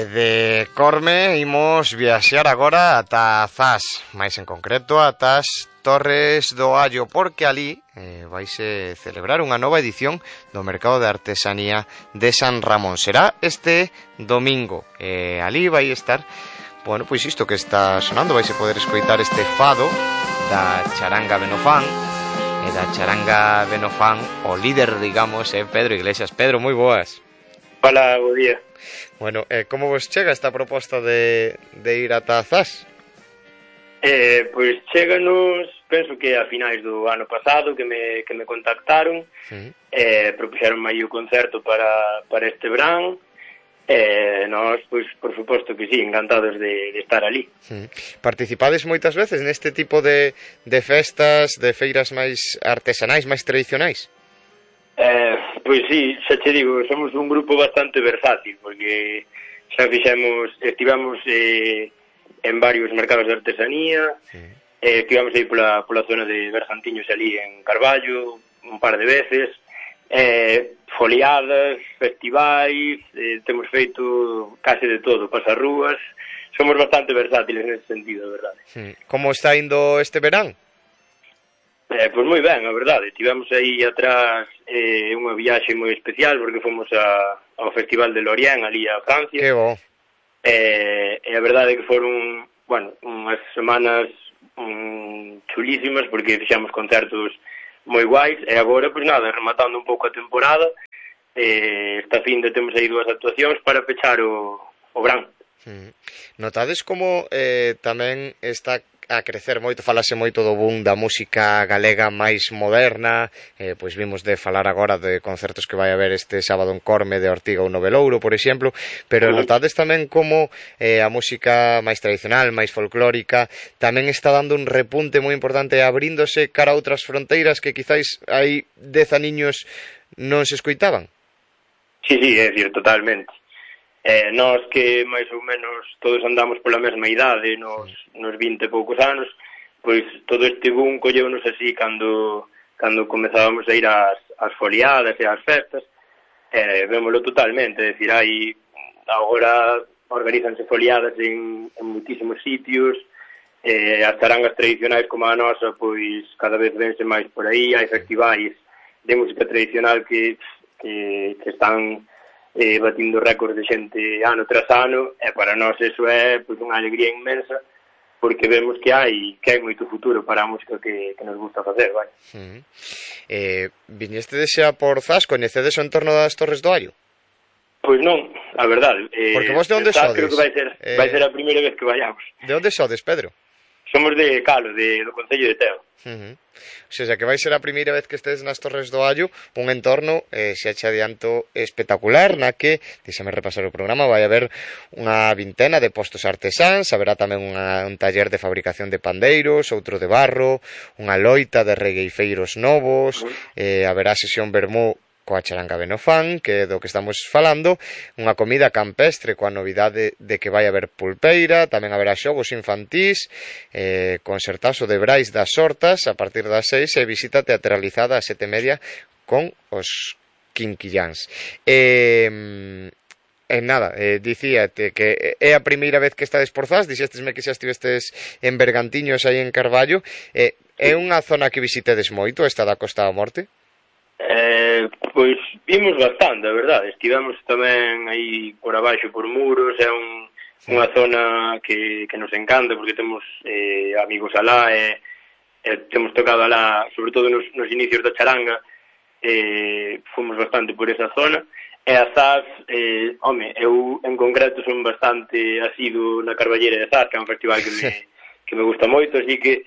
De Corme imos viaxar agora ata Zas, máis en concreto ata as Torres do Allo, porque ali vaise celebrar unha nova edición do Mercado de Artesanía de San Ramón. Será este domingo, ali vai estar, bueno, pois isto que está sonando, vaise poder escoitar este fado da charanga Benofán, e da charanga Benofán o líder, digamos, é Pedro Iglesias. Pedro, moi boas. Hola, bo día. Bueno, como vos chega esta proposta de ir ata Zas? Pois chéganos, penso que a finais do ano pasado que me contactaron, propuxeron aí o concerto para este verán, nós, pois, por suposto que sí, encantados de estar ali. Participades moitas veces neste tipo de festas, de feiras máis artesanais, máis tradicionais? Pois sí, xa che digo, somos un grupo bastante versátil, porque xa estivemos en varios mercados de artesanía, estivemos aí pola zona de Bergantiños ali en Carballo un par de veces, foliadas, festivais, temos feito case de todo, pasarrúas, somos bastante versátiles nese sentido, a verdade. Como está indo este verán? Pois moi ben, a verdade. Tivemos aí atrás unha viaxe moi especial porque fomos ao Festival de Lorient ali a Francia. Que bo. E a verdade é que foron, bueno, unhas semanas chulísimas porque fixamos concertos moi guais e agora, pois nada, rematando un pouco a temporada, esta fin de temos aí 2 actuacións para pechar o verán. Notades como tamén está a crecer moito, falase moito do boom da música galega máis moderna, pois vimos de falar agora de concertos que vai haber este sábado en Corme de Ortiga ou Novelouro, por exemplo, pero notades tamén como a música máis tradicional, máis folclórica, tamén está dando un repunte moi importante, abríndose cara a outras fronteiras que quizáis hai 10 aniños non se escoitaban? Sí, é dicir, totalmente. Nós que máis ou menos todos andamos pola mesma idade, nos 20 e poucos anos, pois todo este boom colleunos así cando comezábamos a ir ás foliadas e ás festas, vémolo totalmente, é dicir, agora organízanse foliadas en moitísimos sitios, as charangas tradicionais como a nosa, pois cada vez vense máis por aí, hai festivais de música tradicional que están batindo récords de xente ano tras ano, e para nós eso é pois unha alegría inmensa porque vemos que hai moito futuro para a música que nos gusta facer, vai. Viñestedes xa por Zas, coñecedes o entorno das Torres do Allo? Pois non, a verdade. Porque vos de onde sodes? Creo que vai ser a primeira vez que vayamos. De onde sodes, Pedro? Somos de Calo, do Concello de Teo. O sea, que vai ser a primeira vez que estedes nas Torres do Allo, un entorno, xa che adianto, espectacular, na que, deixame repasar o programa, vai haber unha vintena de postos artesáns, haberá tamén un taller de fabricación de pandeiros, outro de barro, unha loita de regueifeiros novos, haberá sesión vermú coa charanga Benofán, que é do que estamos falando, unha comida campestre coa novidade de que vai haber pulpeira, tamén haberá xogos infantís, concertazo de Brais das Hortas a partir das 6 e visita teatralizada a 7:30 con os Quinquilláns. Nada, dicíate que é a primeira vez que estades por Zas, dixestesme que xa estivestes en Bergantiños aí en Carballo, é unha zona que visitedes moito, esta da Costa da Morte? Pois vimos bastante, a verdade. Estivemos tamén aí por abaixo por Muros, é unha zona que nos encanta porque temos amigos alá e temos tocado alá, sobre todo nos inicios da charanga, fomos bastante por esa zona. E a Zas, eu en concreto son bastante asiduo na Carballeira de Zas, que é un festival que me gusta moito, así que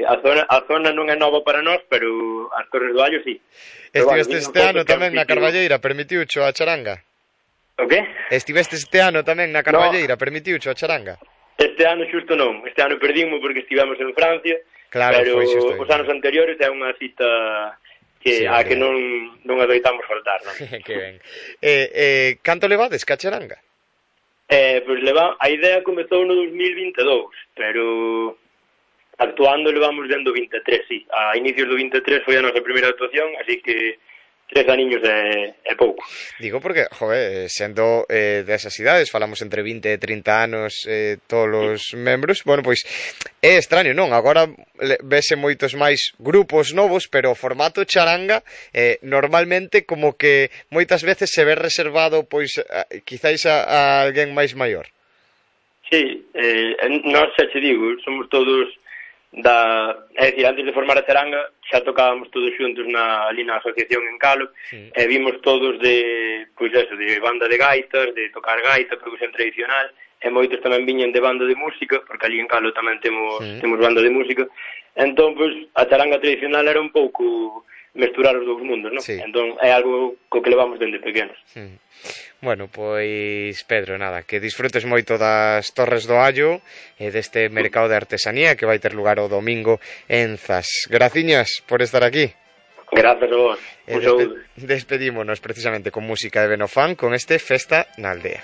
a zona non é nova para nós, pero as Torres do Allo sí. Estiveste este ano tamén na Carballeira, permitiucho a charanga? O que? Estiveste este ano tamén na Carballeira, permitiucho a charanga? Este ano xusto non, este ano perdimos porque estivemos en Francia, claro, pero os anos anteriores é unha cita que non adoitamos faltar, non? Que ben. Canto levades ca charanga? Pois a idea comezou no 2022, pero actuando levamos dentro do 23, sí. A inicios do 23 foi a nosa primeira actuación, así que 3 aniños é pouco. Digo porque, joder, sendo desas idades, falamos entre 20 e 30 anos todos os membros, bueno, pois é extraño, non? Agora vese moitos máis grupos novos, pero o formato charanga normalmente como que moitas veces se ve reservado pois quizáis a alguén máis maior. Sí, nós xa te digo, somos todos é dicir, antes de formar a charanga xa tocábamos todos xuntos ali na asociación en Calo, e vimos todos de banda de gaitas, de tocar gaita, percusión tradicional, e moitos tamén viñen de banda de música, porque ali en Calo tamén temos banda de música. Entón, pois, a charanga tradicional era un pouco mesturar os dous mundos, non? Sí. Entón, é algo co que levamos dende pequenos. Bueno, pois, Pedro, nada, que disfrutes moito das Torres do Allo e deste mercado de artesanía que vai ter lugar o domingo en Zas. Graciñas por estar aquí. Grazas a vos. Un saúdo. Despedímonos precisamente con música de Benofán con este Festa na Aldea.